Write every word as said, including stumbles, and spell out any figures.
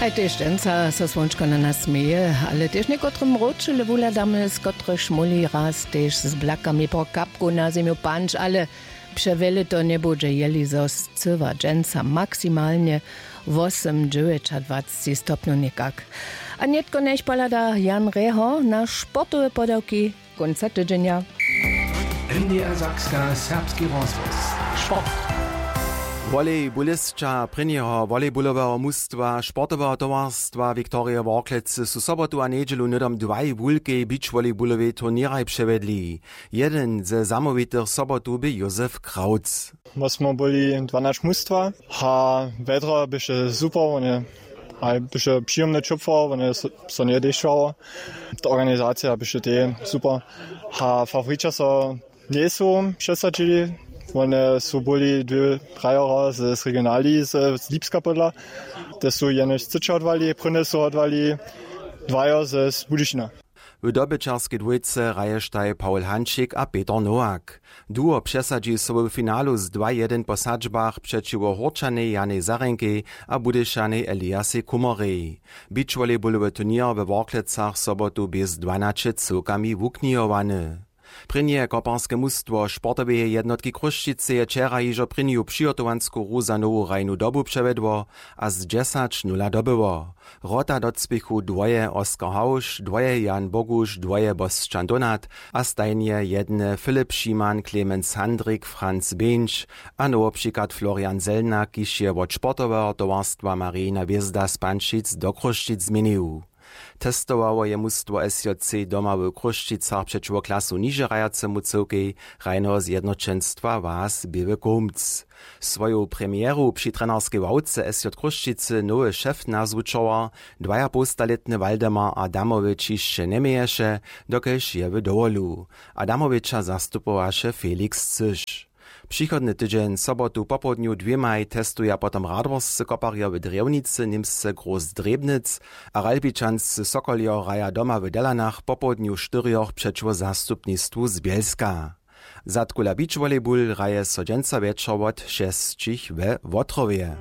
Tež dźensa so słónčko na nas směje, ale tež někotrym wróćele wuhladamy, z kotrychž móhli raz tež z blakami po kapku na zemju panć, ale přewjele to njebudźe, jeli zo scyła dźensa maksimalnje wosym dźewjećadwacci stopnjow někak. A nětko njech pohlada Jan Reho na sportowe podawki kónca tydźenja. N D R Sakska, serbski rozhłos. Sport. Volejbulista prěnjeho volejbuloweho mustwa sportoweho towarstwa Viktorije Worklecy su sobotu a njedźelu hnydom dwaj wulkej beachvolejbulowej turněraj přewjedli. Jedyn ze zamołwitych sobotu bě Józef Krautz. My smo byli dwanaće mustwa a wjedro běše super, wone a běše přijomne ćopło, wone so njedešćało. Ta organizacija běše tež super a faworića so njejsu přesadźili. Wone su byli dwě, trajoro z regionali z lipska podla, te su jenož třeće hodwali, prěnje su hodwali dwajo z budyšina. W dobyćerskej dwójce hraještej Paul Hančik a Peter Nowak. Duo přesadźi so w finalu z dwa jedyn po sadźbach přećiwo Hórčanej Janej Zarenkej a Budyšanej Eliasej Kumorej. Beachvolejbulowy turněr we Worklecach sobotu bě z dwanaće cyłkami wuknihowany. Prěnje koparske mustwo sportoweje jednotki Chrósćicy je wčera hižo prěnju přihotowansku hru za nowu hrajnu dobu přewjedło a z dźesać nula dobyło. Wrota docpěchu dwoje Oskar Hauš, dwoje Jan Boguš, dwoje Bosćan Donat a stajnje jedne Filip Šiman, Clemens Handrik, Franz Běnč a nowopřiklad Florian Zelnak, kiž je wot sportoweho towarstwa Marijina hwězda z Pančic do Chrósćic změnił. Testowało je mustwo S J C doma w Chrósćicach přećiwo klasu nižehrajacymu cyłkej hrajneho zjednoćenstwa Was Běły Kołmc. Swoju premjeru při trenerskej ławce S J Chrósćicy nowy šef nazwučował dwajapołstalětny Waldemar Adamowicz hišće njeměješe, dokelž je w dowolu. Adamowiča zastupowaše Felix Cyš. Přichodny tydźeń sobotu popołdnju dwěmaj testuja potom radworscy koparjo w Drjewnicy, Němsce Groß Drjebnitz a Ralbičanscy Sokoljo hraja doma w Delanach popołdnju štyrjoch přećiwo zastupnistwu z Bjelska. Zadkula Beach Volleyball hraje so dźensa wječor wot šesćich we Wotrowje.